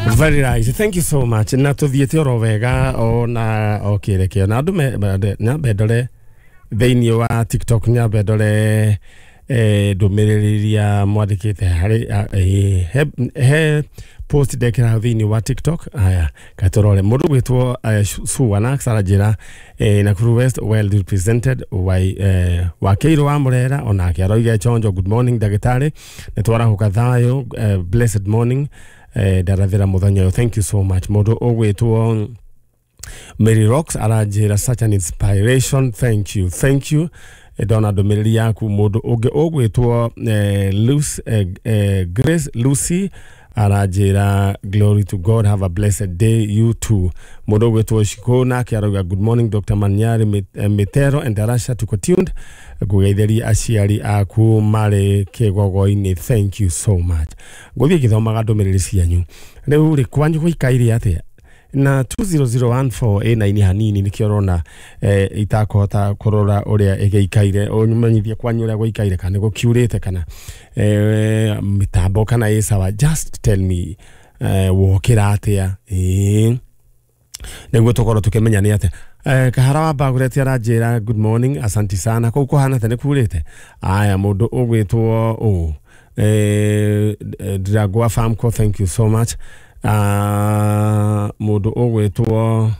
Very nice. Thank you so much. Na tuthiĩte oro wega ona o kĩrekio na andũ nyambe ndore thĩinĩ wa TikTok, nyambe ndore ndũmĩrĩri iria mwandĩkĩte harĩ he post ndekĩra hau thĩinĩ wa TikTok. Haya, katũrore mũndũ gwĩtwo Suwanax aranjĩra Nakuru West well represented Wakeirũ wa Mũrera onake aroiga chonjo. Good morning ndagĩtarĩ, nĩ twarahuka thayũ, blessed morning, ndarathĩra mũthenya ũyũ. Thank you so much. Mũndũ ũgwĩtwo Mary Rocks aranjĩra such an inspiration, thank you, thank you. Ndona ndũmĩrĩri yaku. Mũndũ ũngĩ ũgwĩtwo Grace Lucy aranjĩra glory to God, have a blessed day, you too. Mũndũ ũgwĩtwo Shiko nake arauga good morning Dr. Manyari Mitero and Darasha, tuko tuned, ngũgeithĩria aciari aku marĩ kĩgogo-inĩ. Thank you so much. Ngũthiĩ ngĩthomaga ndũmĩrĩri cianyu. Rĩu rĩ, kwanyu gũikaire atĩa na 20014 ĩna ini hanini nĩkĩo ũrona itakũhota kũrora ũrĩa ĩgĩikaire. Ũmenyithie kwanyu ũrĩa gũikaire, kana gũkiurĩte, kana mĩtambo kana ĩ sawa. Just tell me wokĩra atĩa, ĩĩ nĩguo tũkorwo tũkĩmenya nĩ atĩa. Kahara wa Bagureti aranjĩra good morning, asanti sana. Kũu kũhana atĩa, nĩ kurĩte? Aya, mũndũ ũgwĩtwo ũ Ndiragoa Farmco, thank you so much. Mũndũ ũgwĩtwo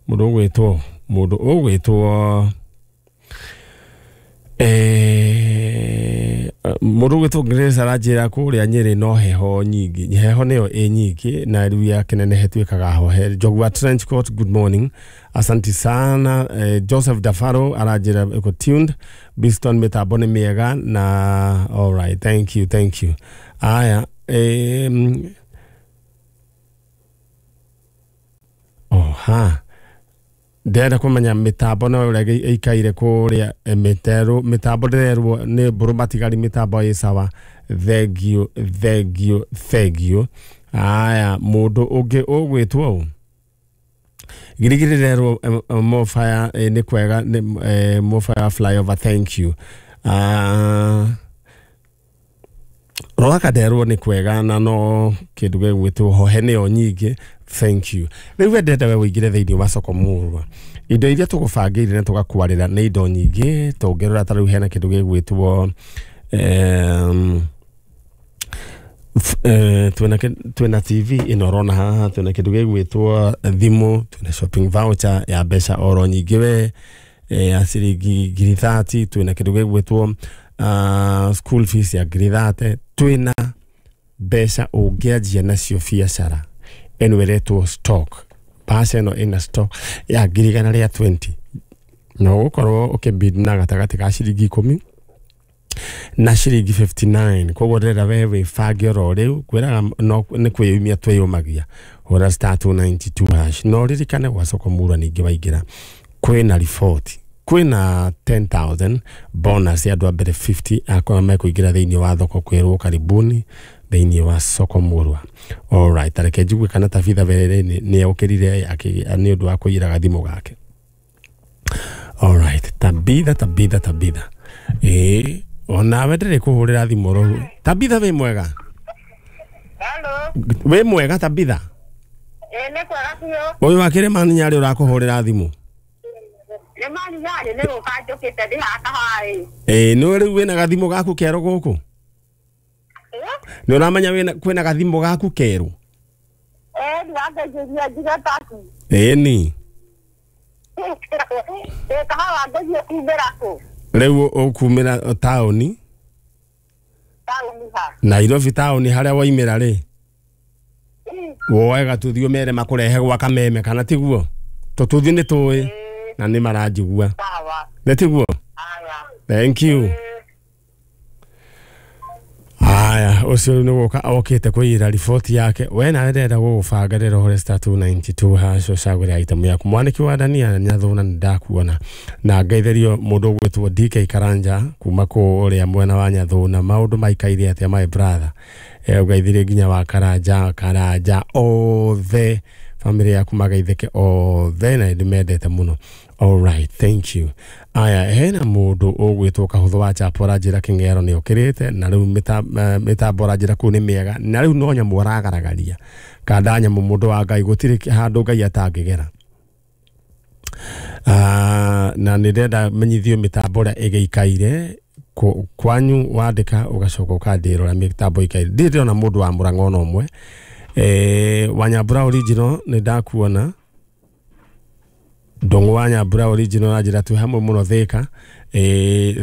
mũndũ ũgwĩtwo mũndũ ũgwĩtwo mũndũ ũgwĩtwo Grace aranjĩra kũrĩa Nyĩrĩ no heho nyingĩ, heho nĩyo ĩ nyingĩ na rĩu ya kĩnenehe tuĩkaga hohe. Njogua Trench Coat, good morning, asanti sana. Joseph Dafaro aranjĩra ĩko tuned, Biston mĩtambo nĩ mĩega na all right, thank you, thank you. Aya, oha ndĩrenda kũmenya mĩtambo no ũrĩa ĩikaire kũrĩa mĩterũ, mĩtambo ndĩrerwo nĩ mbũrũ matigari, mĩtambo ĩ sawa. Thank you, thank you, thank you. Aya, mũndũ ũngĩ ũgwĩtwo ũ Girigiri ndĩrerwo Mofaya nĩ kwega, nĩ Mofaya flyover, thank you. Roraka nderwo nĩ kwega na no kĩndũ gĩgwĩtwo hohe nĩyo nyingĩ, thank you. Rĩu wendete we ũingĩre thĩinĩ wa soko mũrwa, indo iria tũgũbangĩire na tũgakwarĩra nĩ indo nyingĩ. Tũngĩrora ta rĩu hena kĩndũ gĩgwĩtwo twĩna TV ĩno ũrona haha, twĩna kĩndũ gĩgwĩtwo thimũ, twĩna shopping voucher ya mbeca oro nyingĩ we ya ciringi 30,000, twĩna kĩndũ gĩgwĩtwo school fees ya 30,000, twĩna mbeca ũngĩanjia nacio biacara ĩno ĩretwo stock. Mbeca ĩno ĩna stock ya 120,000 na ũgũkorwo ũkĩbid na gatagatĩ ka ciringi 10 na ciringi 59. Koguo ndĩrenda we wĩbange oro rĩu, kwĩraga no nĩ kwĩyumia twĩyũmagia. Hũra star 292 hash no ririkane gwa soko mura ningĩ waingĩra kwĩna riboti, kwĩna 10,000 bonus ya andũ a mbere 50 akorwo mekũingĩra thĩinĩ wa thoko kwĩrwo karibuni thĩinĩ wa soko murwa. Alright, tareke njigue kana Tabitha Berere nĩ okĩrire nĩ ũndũ wa kũiyĩra gathimũ gake. Alright, Tabitha, Tabitha, Tabitha, ĩĩ onawe ndĩrĩ kũhũrĩra thimũ oro. Tabitha wĩ mwega? Hello. Wĩ mwega Tabitha? Nĩ kwega biũ. Ũyũ wa Kĩrĩmani Nyarĩ ũrakũhũrĩra thimũ. Nĩ mani Nyarĩ nĩ gũka njũkĩte ndĩ haha kahaĩ. Ĩĩ nĩ rĩu wĩna gathimũ gaku kerũ gũkũ? Nĩ ũramenya kwĩna gathimũ gaku kerũ? Ndirangeithĩria njuge taku. Ĩni. Kahawa ngũthiĩ kumĩra kũ? Rĩu ũkumĩra taũni? Taũni ha? Nairobi taũni harĩa waimĩra rĩ, woe gatuthi ũmere makũrehe gwa Kameme, kana tiguo? Tũtuthi nĩ tũĩ na nĩ maranjigua. Nĩ tiguo? Thank you. Aya, ũcio nĩ gũka okĩte kũiyĩra riboti yake. We nawe ndĩrenda gũgũbanga rĩrĩa ũhũre star 292 hash ũcagũre item yaku. Mwanĩki wa Dania Nyathũna nĩ ndakuona na ngeithĩrio mũndũ ũgwĩtwo DK Karanja kuma kũrĩa mwena wa Nyathũna. Maũndũ maikaire atĩa my brother? Ũgeithirie nginya wa Karanja, Karanja othe family yaku magaithĩke othe na ndĩmendete mũno. All right, thank you. Aya, hena mũndũ ũgwĩtwo Kahũthũ wa Chapo aranjĩra Kĩng'ero nĩ okĩrĩte na rĩu mĩtambo aranjĩra kũu nĩ mĩega na rĩu no nyamũ aragaragaria kanda nyamũ mũndũ wa Ngai gũtirĩ handũ Ngai atangĩgera. Na nĩ ndĩrenda menyithio mĩtambo ũrĩa ĩgĩikaire kwanyu wandĩka ũgacoka ũkandĩra ũrĩa mĩtambo ĩikaire. Ndirĩ ndĩrona mũndũ wa Mũrang'a ona ũmwe. Wanyambura original nĩ ndakuona Ndũng'ũ wa Nyambura original anjĩra twĩ hamwe mũno Thĩka.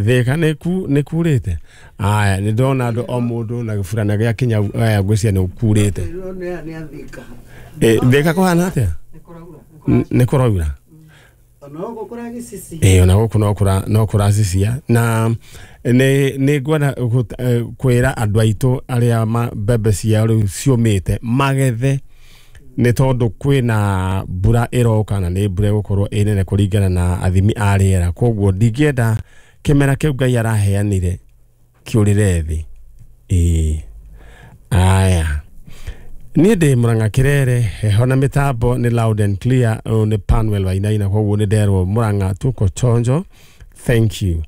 Thĩka nĩ kurĩte. Aya, nĩ ndona andũ o mũndũ na gĩburana gĩa kinya aya ngwĩciria nĩ kurĩte. Thĩka kũhana atĩa? Nĩ kũraura. Ona gũkũ no kũracicia na nĩ ngwenda kwĩra andũ aitũ arĩa mbembe ciao rĩu ciũmĩte magethe nĩ tondũ kwĩna mbura ĩroka na nĩ mbura ĩgũkorwo ĩ nene kũringana na athimi a rĩera koguo ndingĩenda kĩmera kĩu Ngai araheanire kĩũrĩre thĩ. Aya, niĩ ndĩ Mũrang'a Kĩrere heho na mĩtambo nĩ loud and clear. Ũyũ nĩ Panuel Wainaina koguo nĩ nderwo Mũrang'a tuko chonjo. Thank you.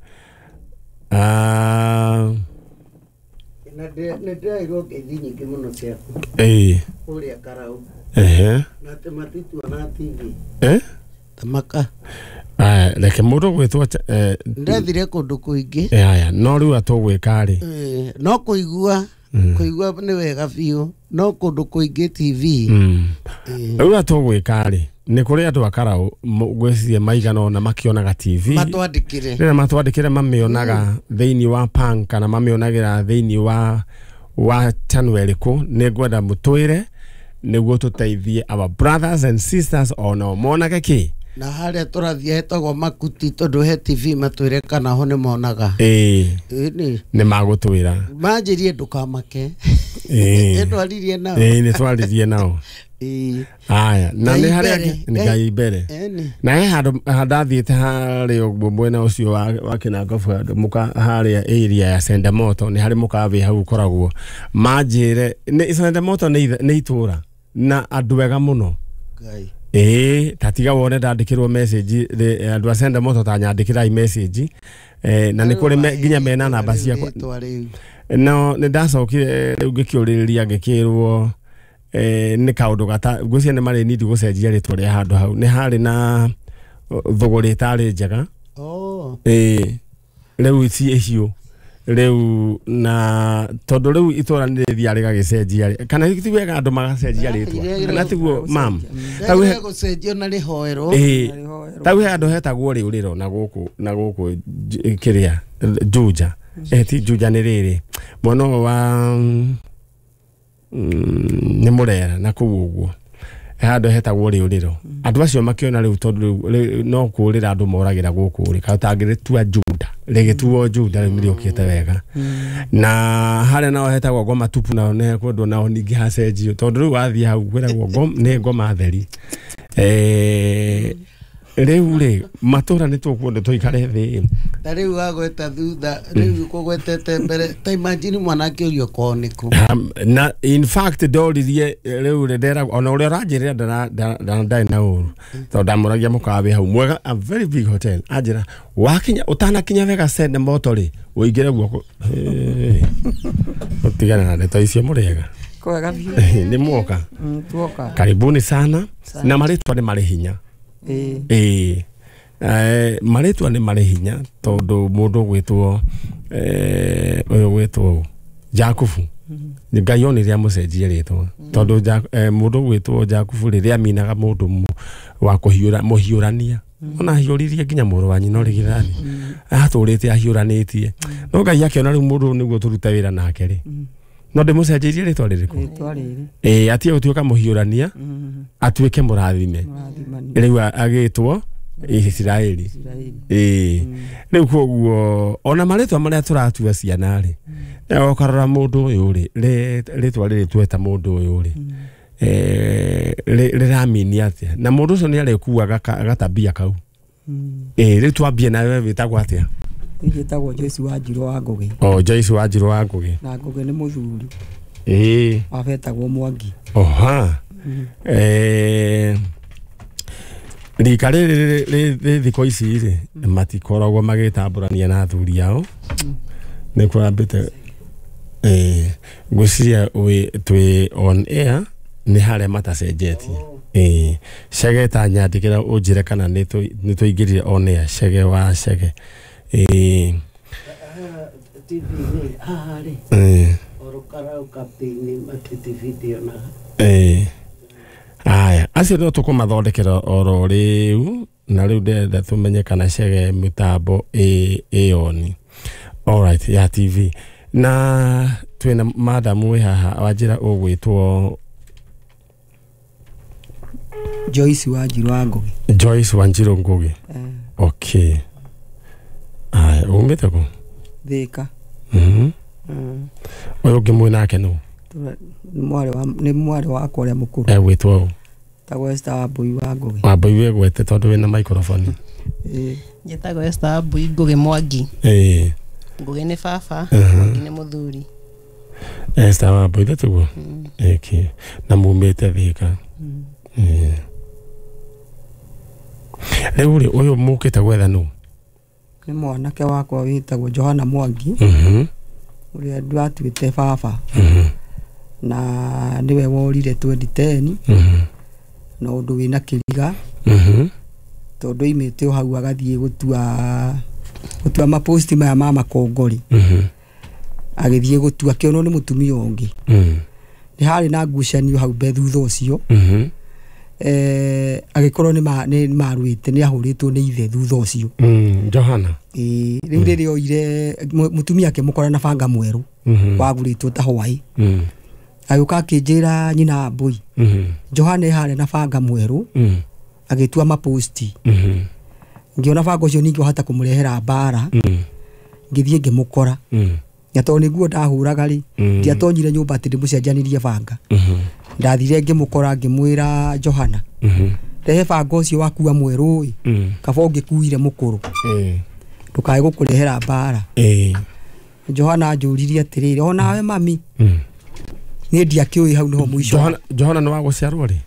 Nĩ ndĩraigua ngeithi nyingĩ mũno ciaku kũrĩa Karau na atĩ matituona TV Tamaka. Aya, reke mũndũ ũgwĩtwo Ndethire kũndũ kũingĩ. Aya, no rĩu atũgwĩka rĩ no kũigua kũigua nĩ wega biũ no kũndũ kũingĩ TV. Rĩu atũgwĩka rĩ nĩ kũrĩ andũ a Karau ngwĩciria maigana ũna makĩonaga TV matwandĩkĩre rĩrĩa matwandĩkĩre mamĩonaga thĩinĩ wa Pang kana mamĩonagĩra thĩinĩ wa channel ĩrĩkũ nĩ ngwenda mũtwĩre nĩguo tũteithie our brothers and sisters onao monage kĩ na harĩa tũrathiĩ hetagwo Makuti tondũ he TV matwĩre kana ho nĩ monaga. Nĩ magũtwĩra manjĩrie ndũkamake. Nĩ nao. Nĩ twaririe nao. Aya, na nĩ harĩa Ngai mbere na he handũ ndathiĩte harĩa ũguo mwena ũcio wa Kĩnangobu handũ mũka harĩa area ya Sendemoto nĩ harĩ mũkawa hau ũkoragwo manjĩre nĩ Sendemoto nĩ itũra na andũ ega mũno. Tatiga wone ndandĩkĩrwo message andũ a Sendemoto ta nyandĩkĩrai message na nĩ kũrĩ nginya mena namba ciakwa. No nĩ ndacokire rĩu ngĩkĩũrĩrĩria ngĩkĩrwo nĩ kaũndũ gata ngwĩciria nĩ marĩ nindi gũcenjia rĩtwa rĩa handũ hau nĩ harĩ na thũgũrĩ ĩtarĩ njega. Rĩu ici icio rĩu na tondũ rĩu itũra nĩ rĩthiaga rĩgagĩcenjia kana ti wega andũ magacenjia rĩtwa kana tiguo mam gũcenjio na rĩhoerwo. Tau he handũ hetagwo rĩũrĩro na gũkũ kĩrĩa Juja ti Juja nĩ rĩrĩ mwena ũyũ wa nĩ Mũrera na kũu ũguo handũ hetagwo rĩũrĩro andũ acio makĩona rĩu tondũ no kũũrĩra andũ moragĩra gũkũ rĩ katangĩrĩtua Juda rĩgĩtuo Juda rĩu nĩrĩũkĩte wega na harĩa nao hetagwo Ngoma Tupu nao nĩ kwendwo nao ningĩ hacenjio tondũ rĩu wathiĩ hau kwĩragwo nĩ ngoma theri. Rĩu rĩ matũra nĩ tũkuenda tũikare thĩ ta rĩu wagweta thutha rĩu kũgwetete mbere ta imagine mwanake ũrio kwao nĩkũ na in fact ndoririe rĩu rĩ ndera ona ũrĩa ũranjĩrĩra ndarĩ na ũru tondũ ndamũragia mũkawa wĩ hau mwega a very big hotel anjĩra wakinya ũtanakinya wega Sendemoto rĩ ũingĩre guoko ũtigane na ndeto icio mũrĩega kwega biũ nĩ mwoka tuoka karibuni sana na marĩtwa nĩ marĩ hinya. Marĩtwa nĩ marĩ hinya tondũ mũndũ ũgwĩtwo ũyũ ũgwĩtwo Jakubu Ngai onire amũcenjie rĩtwa tondũ mũndũ ũgwĩtwo Jakubu rĩrĩa aminaga mũndũ wa kũhiũra mũhiũrania ona ahiũririe nginya mũrũ wa nyina ũrĩ gĩthani atũrĩte ahiũranĩtie no Ngai akĩona rĩu mũndũ nĩguo tũrute wĩra nake rĩ no ndĩmũcenjeirie rĩtwa rĩrĩkũ atige gũtuĩka mũhiũrania atuĩke mũrathime rĩu agĩtwo Isiraeli. Rĩu koguo ona marĩtwa marĩa tũratua ciana rĩ ũkarora mũndũ ũyũ rĩ rĩtwa rĩrĩ tweta mũndũ ũyũ rĩ rĩramini atĩa na mũndũ ũcio nĩ arĩkuaga gatabia kau. Rĩu twambie nawe wĩtagwo atĩa? Njĩtagwo Joyce Wanjirũ wa Ngũgĩ. O Joyce Wanjirũ wa Ngũgĩ. Na Ngũgĩ nĩ mũthuri. Wabetagwo Mwangi. Oha. Rika rĩrĩ rĩ thikũ ici rĩ matikoragwo magĩtambũrania na athuri ao. Nĩ kũrambĩte ngwĩciria twĩ on air nĩ harĩa matacenjetie. Chege ta nyandĩkĩra ũnjĩre kana nĩ tũingĩrire on air. Chege wa Chege. TV haha rĩ oro kapteni matiti video na Aya acio no tũkũmathondekera oro rĩu na rĩu ndĩrenda tũmenye kana Chege mĩtambo ĩyoni. Alright, ya TV na twĩna madam wĩ haha wanjĩra ũgwĩtwo Joyce Wanjiru wa Ngugi. Joyce Wanjiru Ngugi. Okay. Aya umĩte kũ? Thika. Ũyũ ũngĩ mwĩ nake nũ? Nĩ mwarĩ wakwa ũrĩa mũkũrũ. Egwĩtwo ũ? Tagwo Esther Wambui wa Ngugi. Wambui wĩgwete tondũ wĩna microphone. Njĩtagwo Esther Wambui Ngugi Mwangi. Ngugi nĩ baba, Mwangi nĩ mũthuri. Esther Wambui tiguo? Okay. Na mumĩte Thika. Rĩu rĩ ũyũ mũkĩte gwetha nũ? Nĩ mwanake wakwa wĩtagwo Johana Mwangi. Ũrĩa ndatuĩte baba. Na nĩwe worire 2010. Na ũndũ wĩna kĩriga. Tondũ oimĩte o hau agathiĩ gũtua maposti maya ma makongori. Agĩthiĩ gũtua kĩonwo nĩ mũtumia ũngĩ. Nĩ harĩ na ngucanio hau mbe thutha ũcio. Agĩkorwo nĩ marũĩte nĩ ahũrĩtwo nĩ ithe thutha ũcio. Johana. Rĩu rĩrĩa oire mũtumia akĩmũkora na banga mwerũ wagũrĩtwo ta hwaĩ. Agĩũka akĩnjĩra nyina Wambui. Johana harĩa na banga mwerũ agĩtua maposti. Ngĩona banga ũcio ningĩ wahota kũmũrehera mbara. Ngĩthiĩ ngĩmũkora. Na tondũ nĩguo ndahũraga rĩ ndiatonyire nyũmba atĩ ndĩmũcenjanirie banga. Ndathire ngĩmũkora ngĩmwĩra Johana rehe banga ũcio wakua mwerũ ĩ kaba ũngĩkuire mũkũrũ ndũkae gũkũrehera mbara. Johana anjũririe atĩrĩrĩ onawe mami niĩ ndiakĩũĩ hau nĩho mũico. Johana nĩ wa gũciarwo rĩ?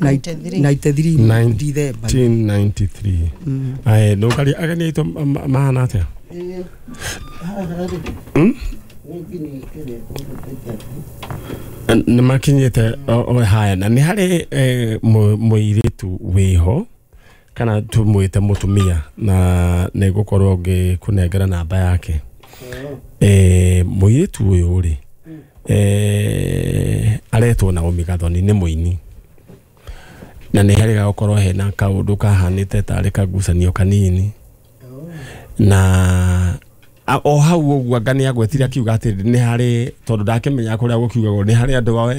93 December 1993. Aya ndũkaria ageni aitũ mahana atĩa? Nĩ makinyĩte haya na nĩ harĩ mũirĩtu wĩho kana tũmwĩte mũtumia na nĩ ngũkorwo ngĩkũnengera namba yake. Mũirĩtu ũyũ rĩ aretwo Naomi Gathoni nĩ mũini na nĩ harĩ gũkorwo hena kaũndũ kahanĩte tarĩ kagucanio kanini na o hau ũguo anga nĩ agwetire akiuga atĩ nĩ harĩ tondũ ndakĩmenya kũrĩa gũkiugagwo nĩ harĩ andũ ao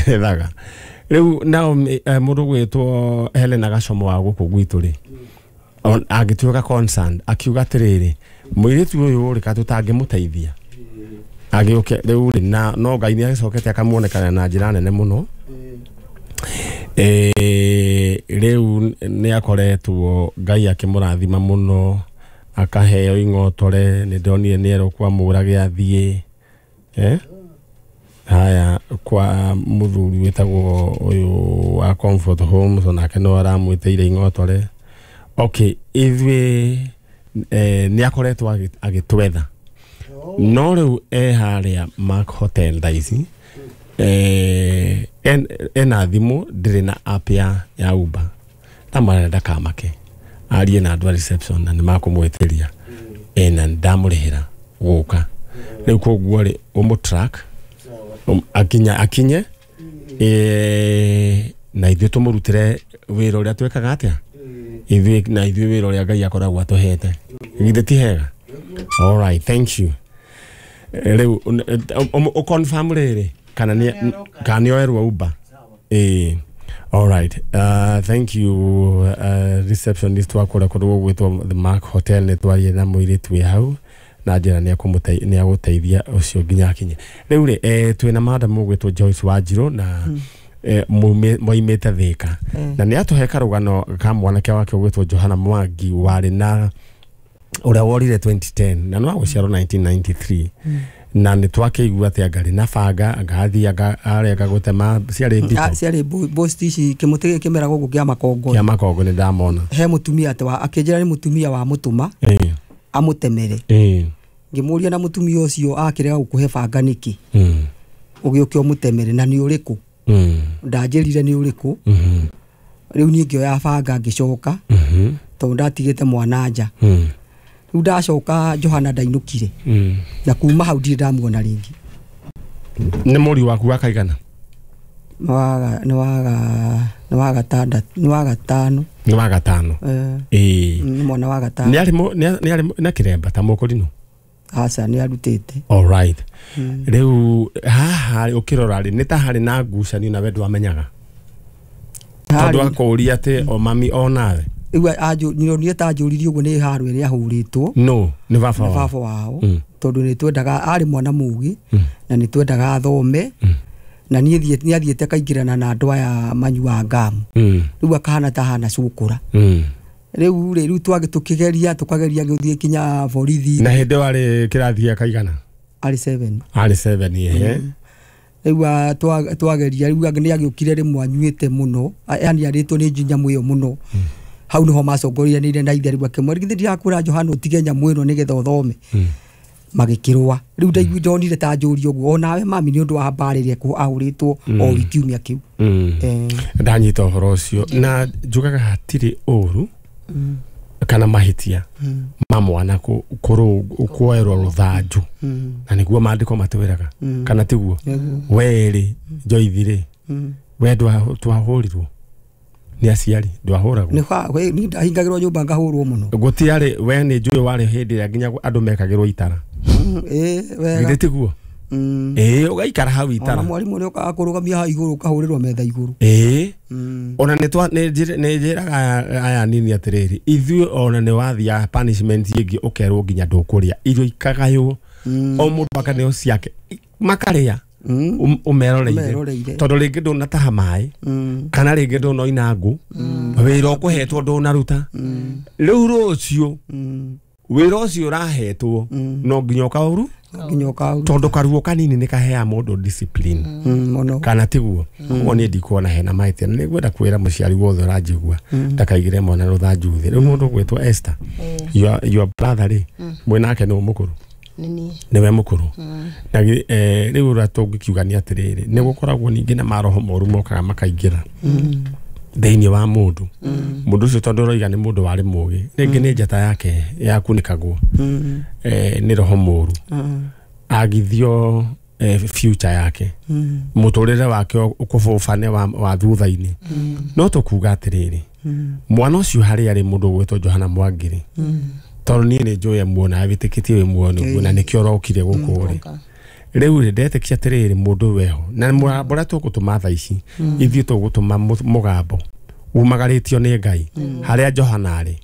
ethaga. Rĩu Naomi mũndũ gwĩtwo Helena Gacomo wa gũkũ gwitũ rĩ agĩtuĩka concerned akiuga atĩrĩrĩ mũirĩtu ũyũ rĩ ka tũtangĩmũteithia agĩũke rĩu rĩ na no Ngai nĩ agĩcokete akamuonekana na njĩra nene mũno. Rĩu nĩ akoretwo Ngai akĩmũrathima mũno akaheo ing'otore nĩ ndonire nĩ erwo kwa mũra gĩathiĩ haya kwa mũthuri wĩtagwo ũyũ wa Comfort Homes onake no aramwĩtĩire ing'otore. Okay, ithuĩ nĩ akoretwo agĩtwetha no rĩu e harĩa Mark Hotel thaa ici ena thimũ ndĩrĩ na app ya Uber ndamwĩra ndakamake arie na andũ a reception na nĩ makũmwĩtĩria na ndamũrĩhĩra gũka rĩu koguo rĩ ũmũtrack akinye na ithuĩ tũmũrutĩre wĩra ũrĩa twĩkaga atĩa ithuĩ na ithuĩ wĩra ũrĩa Ngai akoragwo atũhete githĩ ti hega? All right, thank you. Rĩu ũconfirm rĩrĩ kana nĩ oerwo Uber. All right. Thank you receptionist wa kũrĩa kũndũ gũgwĩtwo The Mark Hotel nĩ twarie na mũirĩtu wĩ hau na njĩra nĩ agũteithia ũcio nginya akinye. Rĩu rĩ twĩna madam ũgwĩtwo Joyce Wanjiru na moimĩte Thika na nĩ atũhe karũgano ka mwanake wake ũgwĩtwo Johana Mwangi warĩ na ũrĩa worire 2010 na no agũciarwo 1993 Na nĩ twakĩigua atĩ anga arĩ na banga anga athiĩ anga areka gũtema ciarĩ mbito. Ciarĩ bosti ici kĩmũtĩ gĩkĩ kĩmera gũkũ kĩa makongo. Kĩa makongo nĩ ndamona. He mũtumia atĩ akĩnjĩra nĩ mũtumia wa mũtũma. Amũtemere. Ngĩmũria na mũtumia ũcio akĩrega gũkũhe banga nĩkĩ? Ũgĩũke ũmũtemere na nĩ ũrĩkũ? Ndanjĩrire nĩ ũrĩkũ? Rĩu niĩ ngĩoya banga ngĩcoka. Tondũ ndatigĩte mwana nja. Rĩu ndacoka Johana ndainũkire. Na kuma hau ndirĩ ndamuona rĩngĩ. Nĩ mũriũ waku wa kaigana? Nĩ wa gatano. Nĩ wa gatano. Nĩ mwana wa gatano. Nĩ arĩ na kĩremba ta mũkũrinũ? Aca nĩ arutĩte. All right. Rĩu haha ũkĩrora rĩ nĩ ta harĩ na ngucanio na we ndwamenyaga. Tondũ akũũria atĩ o mami o nawe. Rĩu niĩ ta anjũririe ũguo nĩ haro ĩrĩa ahũrĩtwo. No, nĩ baba wao. Nĩ baba wao. Tondũ nĩ twendaga arĩ mwana mũgĩ na nĩ twendaga athome. Na niĩ nĩ athiĩte kaingĩrana na andũ aya manyuaga ngamu. Rĩu akahana ta hana cũkũra. Rĩu rĩ rĩu tũkĩgeria tũkageria gũthiĩ kinya borithi. Na hĩndĩ warĩ kĩrathi gĩa kaigana? Arĩ 7. Arĩ 7 ehe. Rĩu twageria rĩu nĩ agĩũkire rĩmwe anyuĩte mũno, yani arĩtwo nĩ nyamũ ĩyo mũno. Hau nĩho macongoranĩire na ithe rĩu akĩmwĩra githĩ ndirakwĩra Johana ũtige nyamũ ĩno nĩgetha ũthome. Magĩkĩrũa. Rĩu ndaigua ndonire ta njũria ũguo onawe mami nĩ ũndũ wa mbara ĩrĩa ahũrĩtwo o kiumia kĩu. Ndanyita ũhoro ũcio na njugaga hatirĩ ũru kana mahĩtia ma mwana kuoerwo rũthanju na nĩguo maandĩko matwĩraga kana tiguo? Werĩ Joyce rĩ we ndwahũrirwo nĩ aciari ndwahũragwo? Nĩ ndahingagĩrwo nyũmba ngahũrwo mũno. Gũtiarĩ we nĩ njũĩ warĩ hĩndĩ ĩrĩa nginya andũ mekagĩrwo itara. Wega. Githĩ tiguo? Ũgaikara hau itara. Ona mwarimũ nĩ okaga kũrũgamia hau igũrũ ũkahũrĩrwo metha igũrũ. Ona nĩ njĩraga aya nini atĩrĩrĩ ithuĩ ona nĩ wathiaga punishment ĩngĩ ũkerwo nginya ndũkũrĩa irio ikagaywo o mũndũ akaneo ciake makarĩa ũmeroreire tondũ rĩngĩ ndũnataha maĩ kana rĩngĩ ndũnoina ngũ wĩra ũkũhetwo ndũnaruta rĩu rũciũ wĩra ũcio ũrahetwo no nginya ũkaũru tondũ karuo kanini nĩ kaheaga mũndũ discipline kana tiguo? Koguo niĩ ndikuona hena mahĩtia na nĩngwenda kwĩra mũciari wothe ũranjigua ndakaigĩre mwana rũthanju thĩ. Rĩu mũndũ ũgwĩtwo Esther your brother rĩ mwĩnake nĩ mũkũrũ? Nĩwe mũkũrũ. Na rĩu ũrĩa tũngĩkiuga nĩ atĩrĩrĩ nĩ gũkoragwo ningĩ na maroho moru mokaga makaingĩra thĩinĩ wa mũndũ. Mũndũ ũcio tondũ ũroiga nĩ mũndũ warĩ mũgĩ rĩngĩ nĩ njata yake yakunĩkagwo nĩ roho mũru agithio future yake mũtũrĩre wake ũkũbũbane wa thutha-inĩ. No tũkuga atĩrĩrĩ mwana ũcio harĩa arĩ mũndũ ũgwĩtwo Johana Mwangiri tondũ niĩ nĩ njũĩ muona wĩtĩkĩtie wĩ muoyo nĩguo na nĩkĩo ũrokire gũkũ rĩ rĩu rĩ ndetĩkia atĩrĩrĩ mũndũ weho na mũgambo ũrĩa tũgũtũma thaa ici ithuĩ tũgũtũma mũgambo umagarĩtio nĩ Ngai harĩa Johana arĩ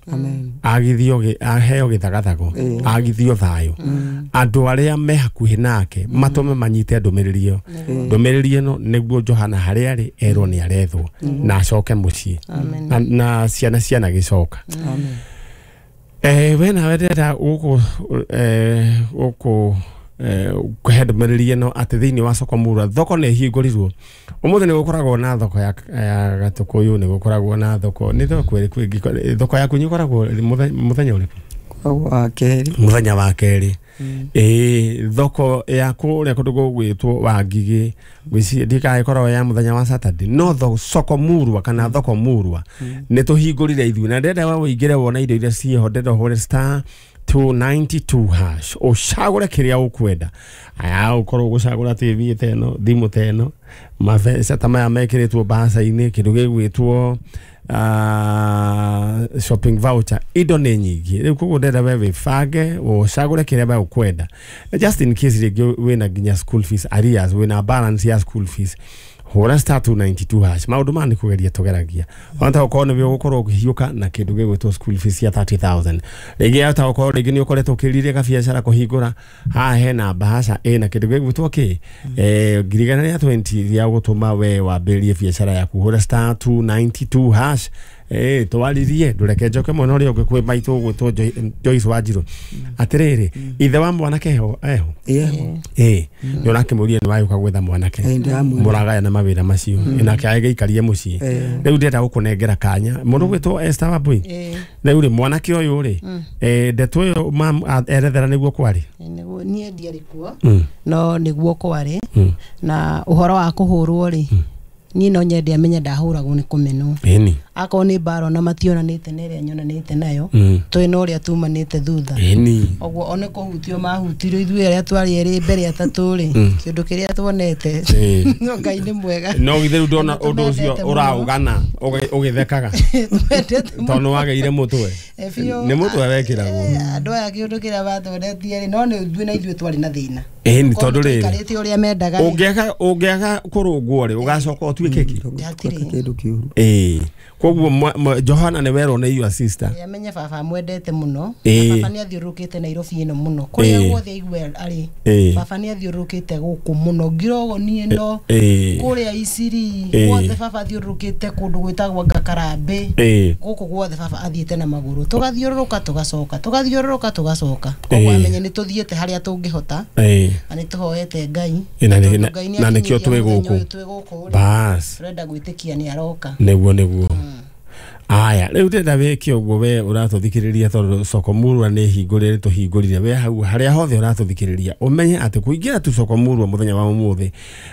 agithio aheo gĩthagathago agithio thayũ andũ arĩa me hakuhĩ nake matũme manyite ndũmĩrĩri ĩyo ndũmĩrĩri ĩno nĩguo Johana harĩa arĩ erwo nĩ arethwo na acoke mũciĩ na ciana ciana gĩcoka. We nawe ndĩrenda gũkũ kũhe ndũmĩrĩri ĩno atĩ thĩinĩ wa soko Murwa thoko nĩ ĩhingũrirwo ũmũthĩ nĩ gũkoragwo na thoko ya Gatũkũyũ nĩ gũkoragwo na thoko nĩ thoko ĩrĩkũ ĩngĩ thoko yaku ĩkoragwo mũthenya ũrĩkũ? Wa kerĩ. Mũthenya wa kerĩ. Thoko ya kũrĩa kũndũ gũgwĩtwo Wangigĩ ngwĩciria ndikaga ĩkoragwo ya mũthenya wa Saturday no soko Murwa kana thoko Murwa nĩ tũhingũrire ithuĩ na ndĩrenda we ũingĩre wone indo iria ciĩho ndĩrenda ũhũre star 292 hash ũcagũre kĩrĩa ũkwenda aya ũkorwo ũgũcagũra TV ta ĩno thimũ ta ĩno mabeca ta maya mekĩrĩtwo mbaca-inĩ kĩndũ gĩgwĩtwo shopping voucher indo nĩ nyingĩ rĩu koguo ndĩrenda we wĩbange ũcagũre kĩrĩa we ũkwenda just in case rĩngĩ wĩna nginya school fees arrears wĩna balance ya school fees hũra star 292 hash maũndũ maya nĩ kũgeria tũgeragia ona ta ũkorwo nĩwe ũgũkorwo ũkĩhiũka na kĩndũ gĩgwĩtwo school fees ya 30,000 rĩngĩ ta ũkorwo rĩngĩ nĩ ũkoretwo ũkĩrirĩria gabiacara kũhingũra haha hena mbahaca ĩna kĩndũ gĩgwĩtwo kĩ 120 gĩa gũtũma we wambĩrĩrie biacara yaku hũra star 292 hash Twaririe ndureke njoke mwena ũrĩa ũngĩ kwĩ maitũ gwĩtwo Joyce Wanjiru. Atĩrĩrĩ, ithe wa mwanake eho? Nĩ ũrakĩmũria nĩ wagĩũka gwetha mwanake. Mũragayana mawĩra macio. Nake agĩikarie mũciĩ. Rĩu ndĩrenda gũkũnengera kanya. Mũndũ gwĩtwo Esther Wambui. Rĩu rĩ mwanake ũyũ rĩ, ndeto ĩyo erethera nĩguo kwarĩ? Nĩguo niĩ ndiarĩ kuo. No nĩguo kwarĩ. Na ũhoro wa kũhũrwo rĩ, niĩ no nyende amenye ndahũragwo nĩ kũmenwo. Akorwo nĩ mbara ona mationanĩte na ĩrĩa nyonanĩte nayo, twĩ na ũrĩa tumanĩte thutha. Ũguo one kũhutio mahutirio ithuĩ arĩa twarĩ erĩ mbere atatũ rĩ, kĩũndũ kĩrĩa tuonete. No Ngai nĩ mwega. No githĩ rĩu ndona ũndũ ũcio ũraũgana ũgĩthekaga. Tondũ wagĩire mũtwe. Nĩ mũtwe wekĩragwo. Andũ aya kĩũndũ kĩrĩa matwonetie rĩ, no nĩ ithuĩ na ithuĩ twarĩ na thĩna. Nĩ tondũ rĩrĩ, tũikarĩte ũrĩa mendaga. Ũngĩaga kũrũngwo rĩ, ũgacoka ũtuĩke kĩ? Kĩndũ kĩũru. Koguo Johana nĩ werwo nĩ your sister. Amenye baba amwendete mũno. Baba nĩ athiũrũrũkĩte Nairobi ĩno mũno. Kũrĩa guothe aigua arĩ. Baba nĩ athiũrũrũkĩte gũkũ mũno. Ngirogo niĩ no kũrĩa Isiri guothe baba athiũrũrũkĩte kũndũ gwĩtagwo Ngakarambĩ. Gũkũ guothe baba athiĩte na magũrũ. Tũgathiũrũrũka tũgacoka. Tũgathiũrũrũka tũgacoka. Koguo amenye nĩ tũthiĩte harĩa tũngĩhota. Na nĩ tũhoete Ngai. Na nĩkĩo twĩ gũkũ. Bas. Tũrenda gwĩtĩkia nĩ aroka. Nĩguo. Aya, rĩu ndĩrenda wĩke ũguo we ũratũthikĩrĩria tondũ Soko Murwa nĩ hingũrĩre tũhingũrire we hau harĩa hothe ũratũthikĩrĩria ũmenye atĩ kũingĩra tu Soko Murwa mũthenya wa ũmũthĩ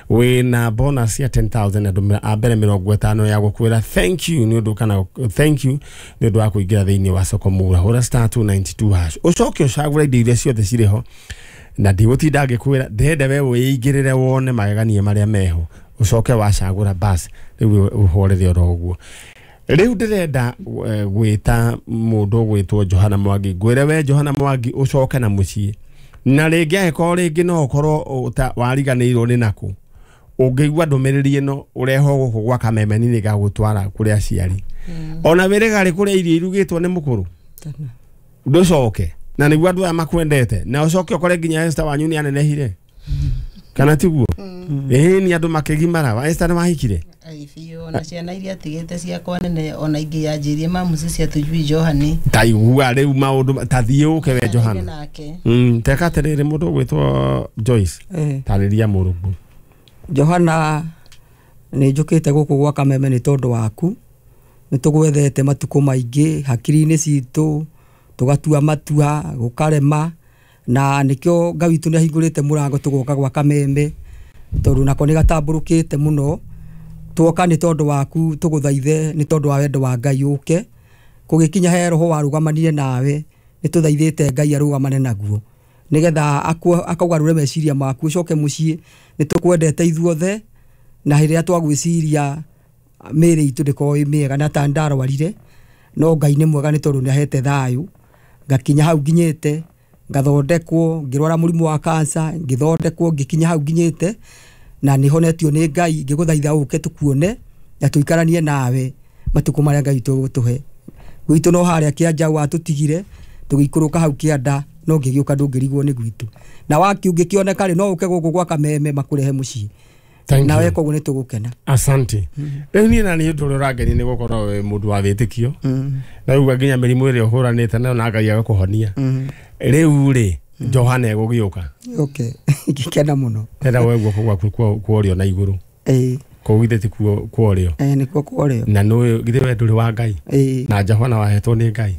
wĩna bonus ya 10,000 andũ a mbere 50 ya gũkwĩra thank you nĩ ũndũ kana thank you nĩ ũndũ wa kũingĩra thĩinĩ wa Soko Murwa. Hũra *292# ũcoke ũcagũre indo iria ciothe cirĩ ho na ndigũtinda ngĩkwĩra ndĩrenda we wĩingĩrĩre wone magegania marĩa meho ũcoke wacagũra bas rĩu ũhorere oro ũguo. Rĩu ndĩrenda gwĩta mũndũ ũgwĩtwo Johana Mwangi ngwĩre we Johana Mwangi ũcoke na mũciĩ na rĩngĩ angĩkorwo rĩngĩ no ũkorwo wariganĩirwo nĩ nakũ ũngĩigua ndũmĩrĩri ĩno ũrehwo gũkũ gwa Kameme nĩ gagũtwara kũrĩ aciari ona wĩrĩga rĩ kũrĩa irio irugĩtwo nĩ mũkũrũ ndũcoke na nĩguo andũ aya makwendete na ũcoke ũkore nginya Esther wanyu nĩ anenehire kana tiguo? Nĩ andũ makĩgimara. Wa Esther nĩ wahikire? Biũ ona ciana iria atigĩte ciakwa nene ona ingĩ yanjĩrie mamuci cia tujui Johani. Ta igua rĩu maũndũ ta thiĩ ũke we Johana. Teka atĩrĩrĩ mũndũ ũgwĩtwo Joyce. Tarĩria mũrũguo. Johana nĩ njũkĩte gũkũ gwa Kameme nĩ tondũ waku. Nĩ tũgwethete matukũ maingĩ hakiri-inĩ citũ tũgatua matua gũkarema na nĩkĩo Ngai witũ nĩ ahingũrĩte mũrango tũgoka gwa Kameme tondũ nako nĩ gatambũrũkĩte mũno. Tuoka nĩ tondũ waku tũgũthaithe nĩ tondũ wa wendo wa Ngai ũke kũgĩkinya he roho warũgamanire nawe nĩ tũthaithĩte Ngai arũgamane naguo nĩgetha akaugarũre meciria maku ũcoke mũciĩ. Nĩ tũkwendete ithuothe na hĩndĩ ĩrĩa twagwĩciria mĩĩrĩ itũ ndĩkoragwo ĩ mĩega na ta ndarwarire no Ngai nĩ mwega nĩ tondũ nĩ ahete thayũ ngakinya hau nginyĩte ngathondekwo ngĩrwara mũrimũ wa cancer ngĩthondekwo ngĩkinya hau nginyĩte na nĩ honetio nĩ Ngai ngĩgũthaitha ũke tũkuone na tũikaranie nawe matukũ marĩa Ngai tũgũtũhe. Gwitũ no harĩa kĩanja watũtigire tũgĩikũrũka hau kĩanda no ngĩgĩũka ndũngĩrigwo nĩ gwitũ na waki ũngĩkĩoneka rĩ no ũke gũkũ gwa Kameme makũrehe mũciĩ nawe koguo nĩ tũgũkena. Asante. Rĩu niĩ na nĩ ũndũ ũrĩa ũrangenia nĩ gũkorwo wĩ mũndũ wa wĩtĩkio na rĩu nginya mĩrimũ ĩrĩa ũhũranĩte nayo na Ngai agakũhonia. Rĩu rĩ Johana egũgĩũka. Okay. Ngĩkena mũno. Ndĩrenda woe guoko gwaku kwa ũrĩo na igũrũ. Kũu githĩ ti kwa ũrĩo? Nĩkuo kwa ũrĩo. Na nĩũĩ githĩ we ndũrĩ wa Ngai? Na Johana wahetwo nĩ Ngai.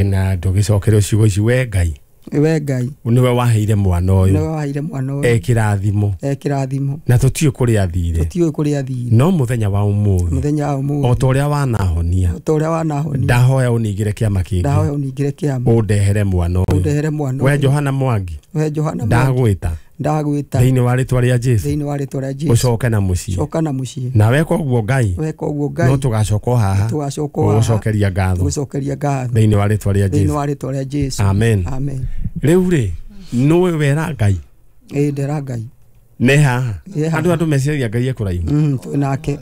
Na ndũgĩcokerio ciugo ici we Ngai. We Ngai. Nĩwe waheire mwana ũyũ. Nĩwe waheire mwana ũyũ. Ekĩrathimo. Ekĩrathimo. Na tũtiũĩ kũrĩa athire. Tũtiũĩ kũrĩa athire. No mũthenya wa ũmũthĩ. Mũthenya wa ũmũthĩ. O ta ũrĩa wanahonia. O ta ũrĩa wanahonia. Ndahoya ũningĩre kĩama kĩngĩ. Ndahoya ũningĩre kĩama. Ũndehere mwana ũyũ. Ũndehere mwana ũyũ. We Johana Mwangi. We Johana Mwangi. Ndagwĩta. Ndagwĩta. Thĩinĩ wa rĩtwa rĩa Jesũ. Thĩinĩ wa rĩtwa rĩa Jesũ. Ũcoke na mũciĩ. Coka na mũciĩ. Na weka ũguo Ngai. Weka ũguo Ngai. No tũgacoka o haha. Tũgacoka o haha. Gũgũcokeria ngatho. Gũgũcokeria ngatho. Thĩinĩ wa rĩtwa rĩa Jesũ. Thĩinĩ wa rĩtwa rĩa Jesũ. Amen. Amen. Rĩu rĩ nĩũĩ wera Ngai? Ndera Ngai. Nĩ haha. Andũ meciragia Ngai e kũraihu. Twĩ nake.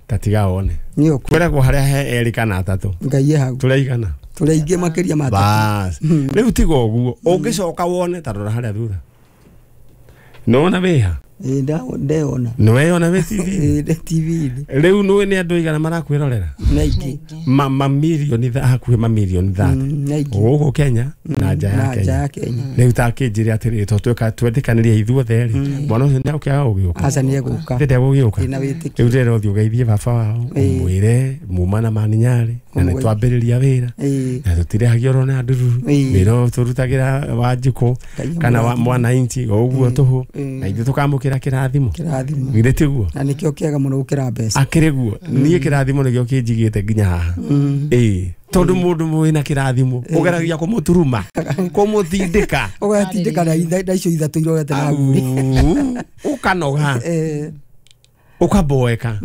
Ta tiga wone. Kwĩragwo harĩa he erĩ kana atatũ. Ngai e hau. Tũrĩ aigana? Tũrĩ aingĩ makĩria ma atatũ. Bas. Rĩu tiga ũguo ũngĩcoka wone ta rora harĩa thutha. Nĩwona wĩha? Ndeyona. Nĩ weyona wĩ TV? Ndĩ TV-inĩ. Rĩu nĩ nĩ andũ igana marakwĩrorera? Nĩ aingĩ. Mamirioni hakuhĩ mamirioni 30. Gũkũ Kenya na nja ya Kenya. Rĩu ta kĩnjĩre atĩrĩrĩ, to twetĩkanĩria ithuothe rĩ, mwana ũcio nĩegũkĩaga gũgĩũka? Aca nĩegũka. Ndegũgĩũka. Ndĩna wĩtĩkio. Rĩu ndĩrenda ũthiĩ ũgeithie baba wao, ũmwĩre muma na Maninyarĩ, na nĩ twambĩrĩria wĩra, na tũtirĩhagio oro na ndururu, wĩra ũyũ tũrutagĩra Wanjikũ kana wa mwananchi o ũguo tũhũ, na ithuĩ tũkamũkĩra kĩrathimo. Githĩ tiguo? Na nĩkĩo kĩega mũno gũkĩra mbeca. Akĩrĩ guo. Niĩ kĩrathimo nĩkĩo kĩnjigĩte nginya haha. Ĩĩ, tondũ mũndũ wĩna kĩrathimo ũgeragia kũmũturuma, kũmũtindĩka. Ũgatindĩka na icio ithatũ irorete na nguri. Ũkanoga. Ũkaboeka.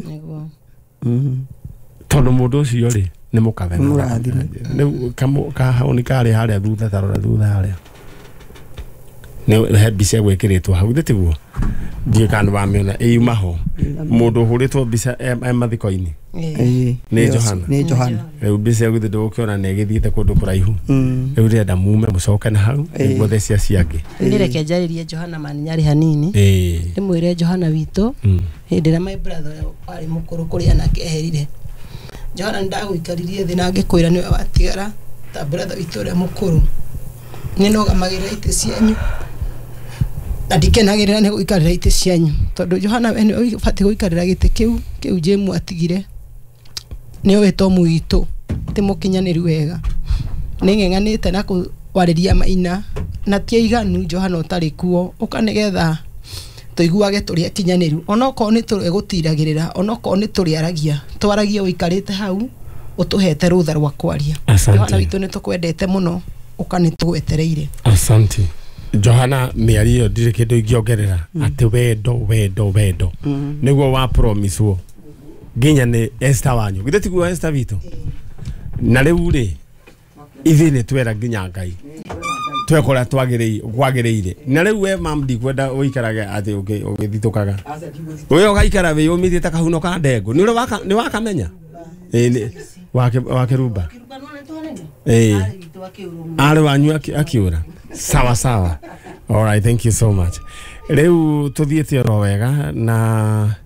Tondũ mũndũ ũcio rĩ nĩ mũkathe. Mũrathime. Rĩu kahaoni karĩ harĩa thutha, tarora thutha harĩa. Nĩ he mbica ĩgwĩkĩrĩtwo hau, githĩ tiguo? Ndiũĩ kana nĩwamĩona ĩyuma ho. Mũndũ ũhũrĩtwo mbica e mathiko-inĩ. Nĩ Johana. Nĩ Johana. Rĩu mbica ĩyo githĩ ndũgũkĩona nĩ ĩgĩthiĩte kũndũ kũraihu. Rĩu ndĩrenda mume mũcoke na hau nĩguo theci acio angĩ. Nĩ reke njarĩrie Johana Maninyarĩ hanini. Ndĩmwĩre Johana witũ hĩndĩ ĩrĩa my brother warĩ mũkũrũ kũrĩ anake eherire. Johana nĩndagũikaririe thĩ na ngĩkwĩra nĩwe watigara ta brother witũ ũrĩa mũkũrũ. Nĩnũgamagĩrĩra itĩ cianyu na ndikenagĩrĩra nĩ gũikarĩra itĩ cianyu tondũ Johana we nĩwe ũbatiĩ gũikarĩra gĩtĩ kĩu Jemu atigire. Nĩ ũĩ Tomu witũ ti mũkinyanĩru wega. Nĩ ng'eng'anĩte na kwarĩria Maina na ti aiganu Johana ũtarĩ kuo ũka nĩgetha tũiguage tũrĩ akinyanĩru onokorwo nĩ tũgũtiragĩrĩra onokorwo nĩ tũrĩaragia twaragie ũikarĩte hau ũtũhete rũtha rwa kwaria. Johana witũ nĩ tũkwendete mũno ũka nĩ tũgwetereire. Asante. Johana mĩario ĩyo ndirĩ kĩndũ ingĩongerera atĩ wendo wendo wendo nĩguo wa promise wo nginya nĩ Esther wanyu githĩ tiguo Esther witũ na rĩu rĩ ithuĩ nĩ twera nginya Ngai twekora twagĩrĩire na rĩu we mam ndikwenda ũikarage atĩ ũgĩthitũkaga we ũgaikara wĩyũmithie ta kahuno ka ndengũ nĩ ũrĩ nĩ wakamenya wa Kĩrumba arĩ wanyu akĩũra. Sawa sawa. All right, thank you so much. Rĩu tũthiĩte oro wega na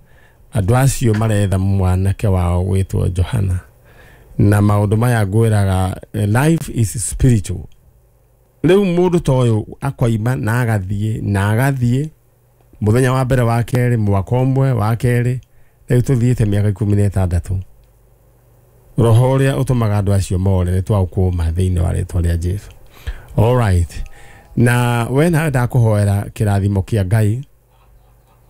andũ acio maretha mwanake wao gwĩtwo Johana na maũndũ maya ngwĩraga life is spiritual. Rĩu mũndũ ta ũyũ akoima na agathiĩ mũthenya wa mbere wa kerĩ mwaka ũmwe wa kerĩ rĩu tũthiĩte mĩaka 16. Roho ũrĩa ũtũmaga andũ acio more nĩ twaũkũma thĩinĩ wa rĩtwa rĩa Jesu. All right. Na we nawe ndakũhoera kĩrathimo kĩa Ngai.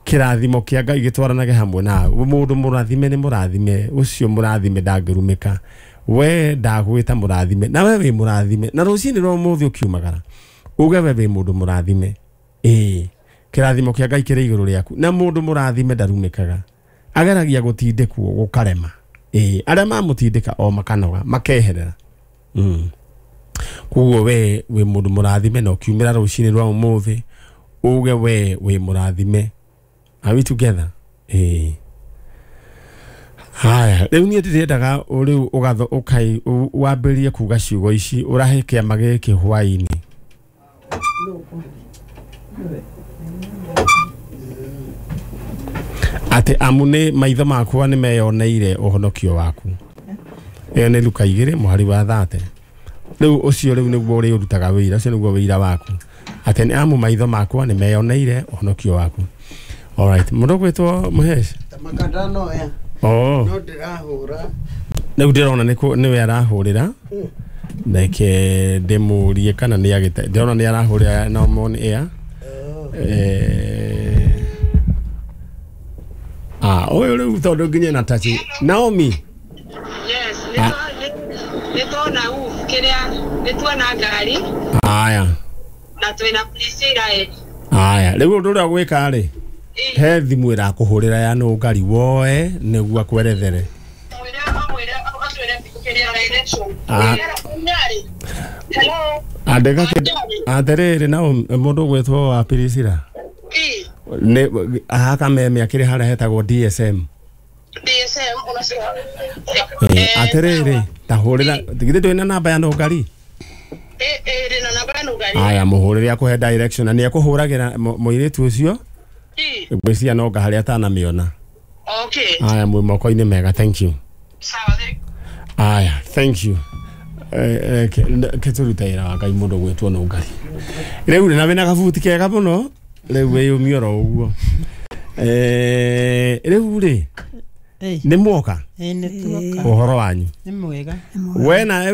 Kĩrathimo kĩa Ngai gĩtwaranage hamwe nawe. Mũndũ mũrathime nĩ mũrathime, ũcio mũrathime ndangĩrumĩka. We ndagwĩta mũrathime, na we wĩ mũrathime. Na rũcinĩ rwa ũmũthĩ ũkiumagara, uge we wĩ mũndũ mũrathime. Ĩĩ, kĩrathimo kĩa Ngai kĩrĩ igũrũ rĩaku. Na mũndũ mũrathime ndarumĩkaga. Ageragia gũtindĩkwo gũkarema. Ĩĩ, arĩa mamũtindĩka o makanoga, makeherera. Koguo we wĩ mũndũ mũrathime na ũkiumĩra rũcinĩ rwa ũmũthĩ uge we wĩ mũrathime. Are we together? Haya, rĩu niĩ ndĩrendaga rĩu ũgatho ũkai wambĩrĩrie kuga ciugo ici ũrahe kĩama gĩkĩ hwaĩ-inĩ. Atĩ amu nĩ maitho makwa nĩ meyoneire ũhonokio waku. Ĩyo nĩ Luka 2 mũhari wa 30. Rĩu ũcio rĩu nĩguo ũrĩũrutaga wĩira, ũcio nĩguo wĩira waku. Atĩ nĩ amu maitho makwa nĩ meyoneire ũhonokio waku. All right, mũndũ gwĩtwo Mũhesh? Makandano ya. Oh. No ndĩrahũra. Rĩu ndĩrona nĩwe arahũrĩra. Reke ndĩmũrie kana nĩ agĩte. Ndĩrona nĩ arahũrĩra na on air. Ũyũ rĩu tondũ nginya na touch. Naomi. Yes, nĩ tuona kĩrĩa nĩ tuona ngari. Aya. Na twĩna Priscilla. Aya, rĩu ũndũ ũrĩa gwĩka rĩ he thimũ ĩrakũhũrĩra ya nũ ngari woe nĩguo akwerethere. Atĩrĩrĩ na mũndũ ũgwĩtwo wa Priscilla. Nĩ haka meme akĩrĩ harĩa hetagwo DSM. DSM Atĩrĩrĩ ta hũrĩra githĩ ndũrĩ na namba ya nũ ngari? Aya mũhũrĩre akũhe direction na nĩ ekũhũragĩra mũirĩtu ũcio Ngwĩciria no harĩa atanamĩona. Okay. Aya, mwĩ moko-inĩ mega, thank you. Sawa. Aya, thank you. Ke tũrute wĩra wa Ngai mũndũ gwĩtwo nũngari rĩu rĩ na wĩna gabuti kega mũno rĩu wĩyũmie oro ũguo. Rĩu rĩ nĩ mwoka Nĩ tuoka. ũhoro wanyu Nĩ mwega. we na